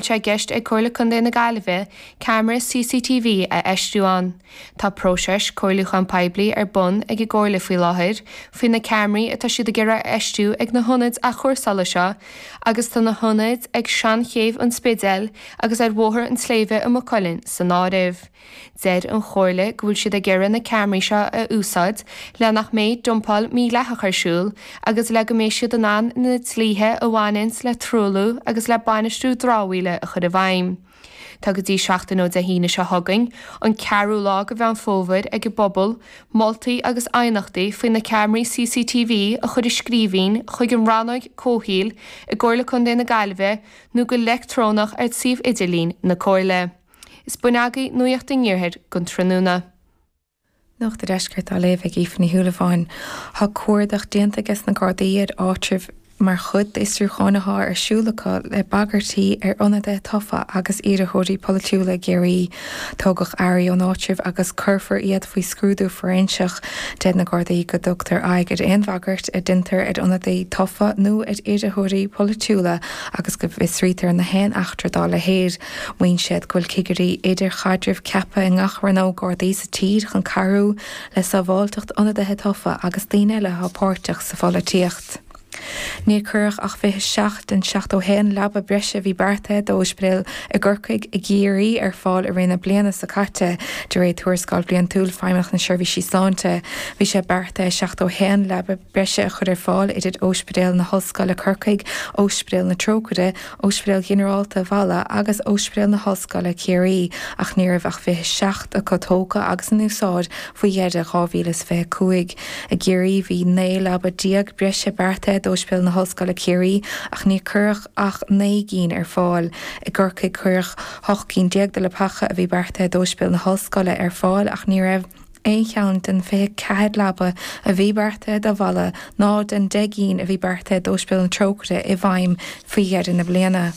Sé i gceist ag Comhairle Contae na Gaillimhe ceamara CCTV a fheistiú ann. Tá próiseas comhairliúchán poiblí ar bun ag an gComhairle faoi láthair faoi na ceamaraí atá siad ag iarraidh a fheistiú ag na hionaid athchúrsála seo agus tá na hionaid ag Seanchéibh an Spidéil agus ar Bhóthar an tSléibhe i Maigh Cuilinn san áireamh. Deir an Chomhairle go bhfuil siad ag iarraidh na ceamaraí seo a úsáid le nach mbeidh dumpáil mhídhleathach ar siúl agus le go mbeidh siad in ann na dlíthe a bhaineanns le truailliú agus le bainistiú dramhaíola a chur i bhfeidhm. Tá go dtí seachtain ó Dé hAoine seo chugainn, an ceathrú lá de Mheán Fómhair, ag an bpobal moltaí agus aighneachtaí faoi na ceamaraí CCTV a chur i scríbhinn chuig an Rannóg Comhshaoil i gComhairle Contae na Gaillimhe nó go leictreonach ar suíomh idirlín na Comhairle. Is b'in agaibh Nuacht an Iarthair don tráthnóna. Nuacht an Deiscirt á léamh ag Aoife Ní Shúilleabháin. Tá cuardach déanta ages na Gardaí ar áitribh mar chuid d'fhiosrúcháin atá ar siúl acu le bagairtí ar ionadaithe tofa agus iarrthóirí polaitiúla i gCiarraí. Tógadh earraí ón áitreabh agus cuirfear iad faoi scrúdú fóiréinseach. Deir na Gardaí go dtugtar aghaidh ar aon bhagairt a deintear ar ionadaí tofa nó ar iarrthóirí polaitiúla agus go bhfiosraítear na haon eachtra dá leithéid. Maíonn siad go bhfuil cigirí idirchaidrimh ceaptha i ngach rannóg Gardaí sa tír chun cabhrú le sábháilteacht ionadaithe tofa agus daoine eile atá páirteach sa pholaitíocht. Níor cuireadh ach 27 den 71 leaba breise a bhí beartaithe d'ospidéil i gCorcaigh, i gCiarraí ar fáil i rith na bliana seo caite, de réir tuarascáil bhliantúil Feidhmeannacht na Seirbhísí Sláinte. Bhí sé beartaithe 71 leaba breise a chur ar fáil idir Ospidéal na hOllscoile Corcaigh, Ospidéal na Trócaire, Ospidéal Ghinearálta Mhala agus Ospidéal na hOllscoile Ciarraí ach ní raibh ach 27 acu tógtha agus in úsáid faoi dheireadh 2025. I gCiarraí bhí 19 leaba breise beartaithe d'Ospidéal na hOllscoile Ciarraí ach níor cuireadh ach 9 gcinn ar fáil. I gCorcaigh cuireadh 18 cinn de leapacha a bhí beartaithe d'Ospidéal na hOllscoile ar fáil ach ní raibh aon cheann den 24 leaba a bhí beartaithe do Mhala ná den 10 gcinn a bhí beartaithe d'Ospidéal na Trócaire i bhfeidhm faoi dheireadh na bliana.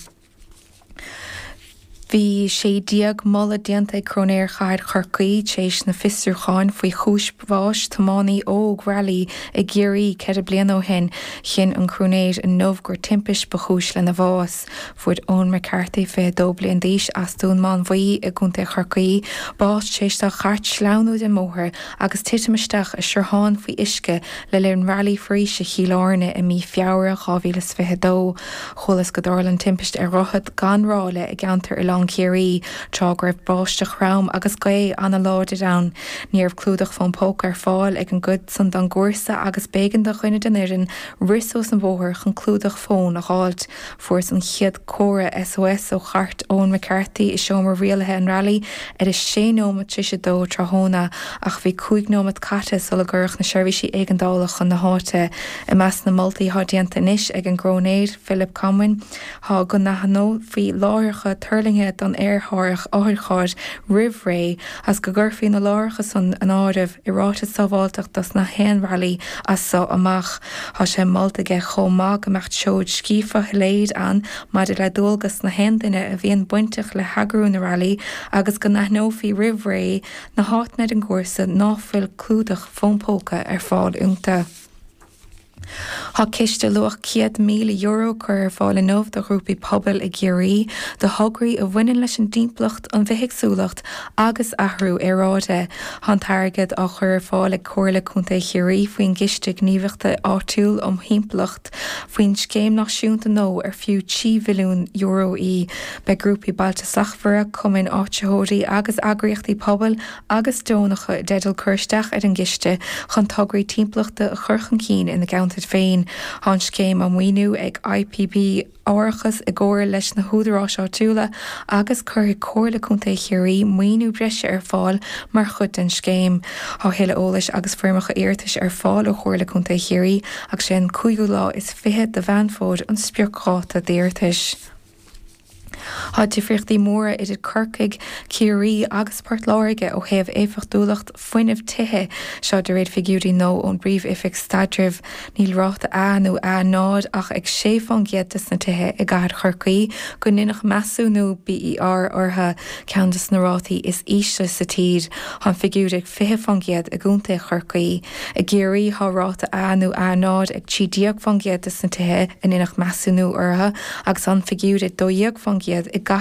Bhí 16 moladh déanta ag Cróinéir Chathair Chorcaí tar éis na fiosrúcháin faoi chúis bháis tiománaí óg railí i gCiarraí 4 bliana ó shin. Chinn an Cróinéir inniu gur timpist ba chúis lena bhás. Fuair Eoin McCarthy, 22 bliain d'aois, as Dún Mánmhaí i gContae Chorcaí, bás tar éis dá chairt sleamhnú den mbóthar agus titim isteach i sruthán faoi uisce le linn Railí Foraoise Chill Airne i mí Feabhra 2022. Chualathas go dtarla an timpist ar dhroichead gan ráille i gceantar Oileán Ciarraí tráth go raibh báisteach throm agus gaoth an-láidir ann. Ní raibh clúdach fón póca ar fáil ag an gcuid san den gcúrsa agus b'éigean do dhuine den fhoireann rith suas an bóthar chun clúdach fóin a dh'fháilt. Fuarthas an chéad comhartha SOS ó chairt Eoin McCarthy i seomra rialaithe an railí ar a sé nóimeat tar éis a dó tráthnóna ach bhí 5 nóimeat caite sula gcuireadh na seirbhísí éigeandála chun na háite. I measc na moltaí atá déanta anois ag an gCróinéir Philip Conway tá go n-aithneofaí láithreacha tuirlingthe don aerárthach otharchairr roimh ré agus go gcuirfí na láithreacha san in áireamh i ráiteas sábháilteachta dos na haon railí as so amach. Tá sé molta aige chomh maith go mbeadh treoir scríofa shoiléir ann maidir le dualgas na haon duine a bhíonn bainteach le heagrú na railí agus go n-aithneofaí roimh ré na háiteanna ar an gcúrsa ná fuil clúdach fón póca ar fáil iontu. Tá ciste luach €100,000 curtha ar fáil inniu do ghrúpaí pobail i gCiarraí do thograí a bhaineann leis an dtimpeallacht, an bhithéagsúlacht agus athrú aeráide. Tá an t-airgead á chur ar fáil ag Comhairle Contae Chiarraí faoin gCiste Gníomhaíochta Áitiúil um Thimpeallacht faoin scéim náisiúnta nua ar fiú €3 mhilliún í. Beidh grúpaí Bailte Slachtmhara, cumainn áitritheoirí agus eagraíochtaí pobail agus deonacha i dteideal cur isteach ar an gciste chun tograí timpeallachta a chur chun cinn ina gceantair féin. Tá an scéim á maoiniú ag IPB Árachas i gcomhar leis na húdaráis áitiúla agus cuirfidh Comhairle Contae Chiarraí maoiniú breise ar fáil mar chuid den scéim. Tá a thuilleadh eolais agus foirmeacha iarratais ar fáil ó Chomhairle Contae Chiarraí agus sé an cúigiú lá is fiche de Mheán Fómhair an spriocdháta d'iarratais. Tá difríochtaí móra idir Corcaigh, Ciarraí agus Port Láirge ó thaobh éifeachtúlacht fuinnimh tithe, seo de réir figiúirí nua ón bPríomh-Oifig Staidrimh. Níl ráta A nó A0 ach ag 6 fán gcéad des na tithe i gcathair Chorcaí go ndeineadh measúnú BER orthu, ceann des na rátaí is ísle sa tír. Tá an figiúr ag 20 fán gcéad i gcontae Chorcaí. I gCiarraí tá ráta A nó A0 ag 13 fán gcéad des na tithe a ndeineadh measúnú orthu agus an figiúr ag 12 fán gcéad i.